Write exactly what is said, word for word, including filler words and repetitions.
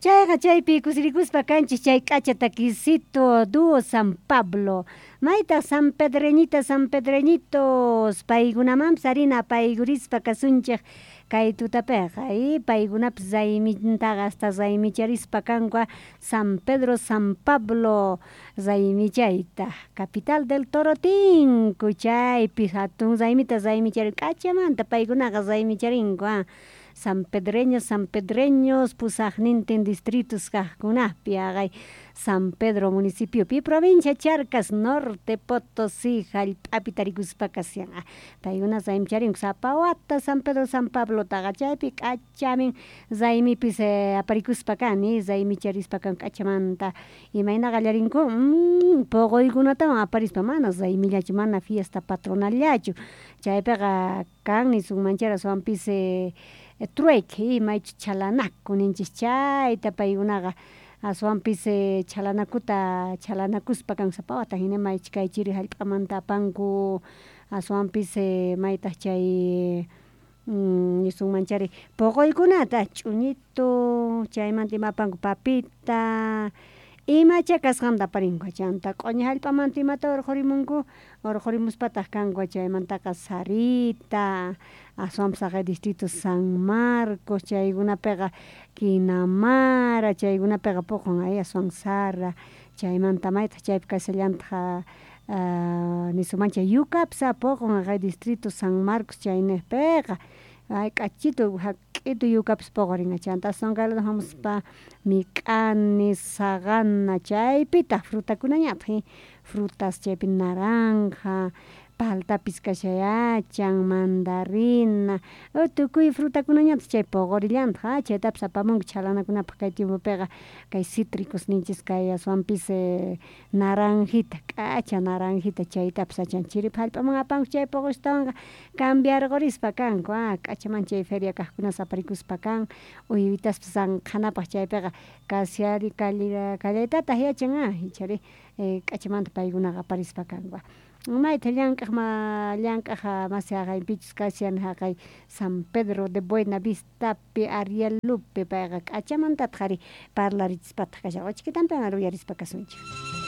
Chayqa chaypi kusirikuspa kanchis chay k'acha takisito dúo San Pablo. Maytaq San Pedreñita, San Pedreñitos, paykunamanpis harina paykurispa kasunchik kay tutapiqa y paykunapis raymintaqa hasta raymicharispa kanku San Pedro San Pablo raymichayta capital del Torotinku chaypi hatun raymita raymicharin k'achamanta paykunaqa raymicharinko San Pedreños, San Pedreños pusaqnintin distritos kaqkunapi haqay San Pedro municipiopi provincia Charcas Norte Potosí hallp'api tarikuspa kashan paykuna raymicharinko sapa wata San Pedro San Pablotaqa chaypi k'achamin raymipis aparikuspa kan raymicharispa kan k'achamanta imayna qallarinku puquykunatawan aparispa mana raymillachu mana fiesta patronallachu chaypiqa kan nisunmanchari aswanpis trueque maychus chhalanaku ninchis chayta paykunaqa aswanpis chhalanakuta chhalanakuspa kan sapa wata hina maychus kay chiri hallp'amanta apanku aswanpis maytaq chay nisunmanchari puquykunata ch'uñitu chaymanta ima apanku papita imacha kasqanta aparinku chanta q'uñi hallp'amanta imata urqurimunku urqurimuspataq kanku chaymantaqa sarita aswanpis haqay distrito San Marcos chaykunapiqa Quinamara chaykunapiqa puqun ay aswan sara chaymanta maytaq chaypi kashallantaq nisunmanchik yukapis puqun haqay distrito San Marcos chayniqpiqa ay k'achitu hak'itu yukapis puqurin chanta aswan kay lado hamuspa mik'ani saqana chaypitaq frutakunañataq frutas chaypi naranja paltapis kashayachan mandarina tukuy frutakunañataq chay puqurillantaq chaytapis apamunku chhalanakunapaq kay tiempopiqa kay cítricos ninchis kay aswanpis naranjita k'acha naranjita chaytapis achan chiripi hallp'aman apanku chay puqushtawanqa cambiarqurispa kanku k'achaman chay feria kaqkunas aparikuspa kan uywitaspas ranqhanapaq chaypiqa kashari kallaytataq yachan ichari k'achamanta paykunaqa aparispa kanku mayta llank'aq ma llank'aq masi haqaypichus kashan haqay San Pedro de Buena Vistapi Arielupi payqa k'achamantataq ari parlarichispataq kashan uchkitanpi uyarispa kasunchik.